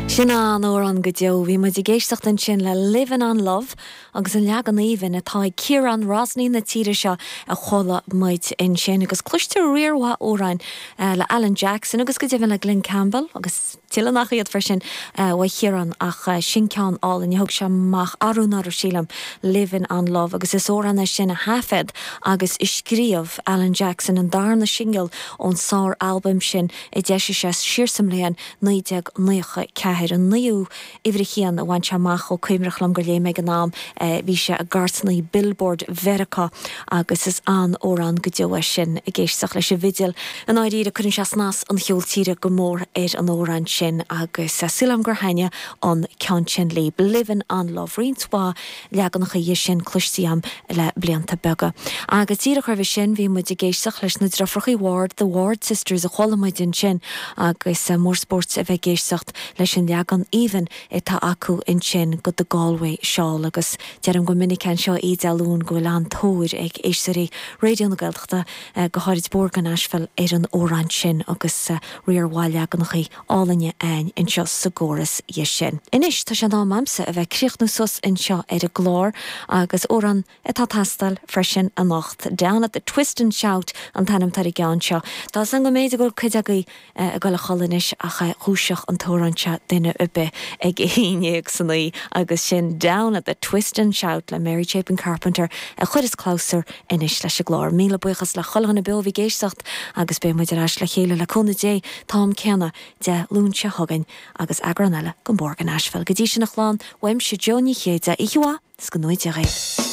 Sin an-amhrán go deo. Bhí muid ag éisteacht ansin le Livin' on Love agus an leagan aoibhinn atá ag Ciarán Rosney na tíre seo a chuala muid ansin agus cloistear riar mhaith amhráin le Alan Jackson agus go deimhin le Glen Campbell agus tuilleadh nach iad freisin uaidh Chiarán ach sin ceann álainn a thug sé amach arú anuraidh sílim, Livin' on Love agus is amhrán é sin a thaifead agus a scríobh Alan Jackson, an darna singil ón sár-albam sin a d'eisigh sé siar sa mbliain 1994, an naoú uimhir a haon a bhain sé amach ó cuimhneach liom gur léigh mé ag an am, bhí sé i gcairteanna Billboard Mheiriceá agus is an-amhrán go deo é sin, ag éisteacht leis an bhfidil. I ndáiríre, cuireann sé snas an cheoil tíre go mór ar an amhrán sin agus súil agam gur thaitnigh an ceann sin libh. Livin' on Love, roinnt mhaith leaganacha dhe sin cloiste agam le blianta beaga. Agus díreach roimhe sin bhí muid ag éisteacht leis na Driofrachaí Ward, The Ward Sisters a chuala muid ansin agus mór spóirt a bheith ag éisteacht leis an leagan aoibhinn atá acu ansin go The Galway Shawl agus deirim go minic anseo oíche Dé Luain go bhfuil an-tóir ag éisteoirí Raidió na Gaeltachta, go háirid Bord go Nashville, ar an amhrán sin agus riar mhaith leaganachaí álainne a'inn anseo sa gcóras dhe sin. Anois tá sé in am a'msa a bheith ag críochnú suas anseo ar an gclár agus amhrán atá ag teastáil freisin anocht. Down at the Twist and Shout an t-ainm atá ar an gceann seo. Tá 'fhios a'm go mb'fhéidir go bhfuil cuid agaibh ag dul a chodladh anois ach dhúiseodh an t-amhrán seo duine ar bith ag a haon dhéag san oíche agus sin Down at the Twist and Shout le Mary Chapin Carpenter a chuireas clabhsúr anois leis an gclár. Míle buíochas le chuile dhuine beo a bhí ag éisteacht agus beidh muid ar ais le chéile le cúnamh Dé t-am céanna Dé Luain seo chugainn agus eagrán eile den Bhord go Nashville. Go dtí sin a chlann, uaimse Joe Ní Chéide, oíche mhaith is go ngnóthaí Dia dhaoibh.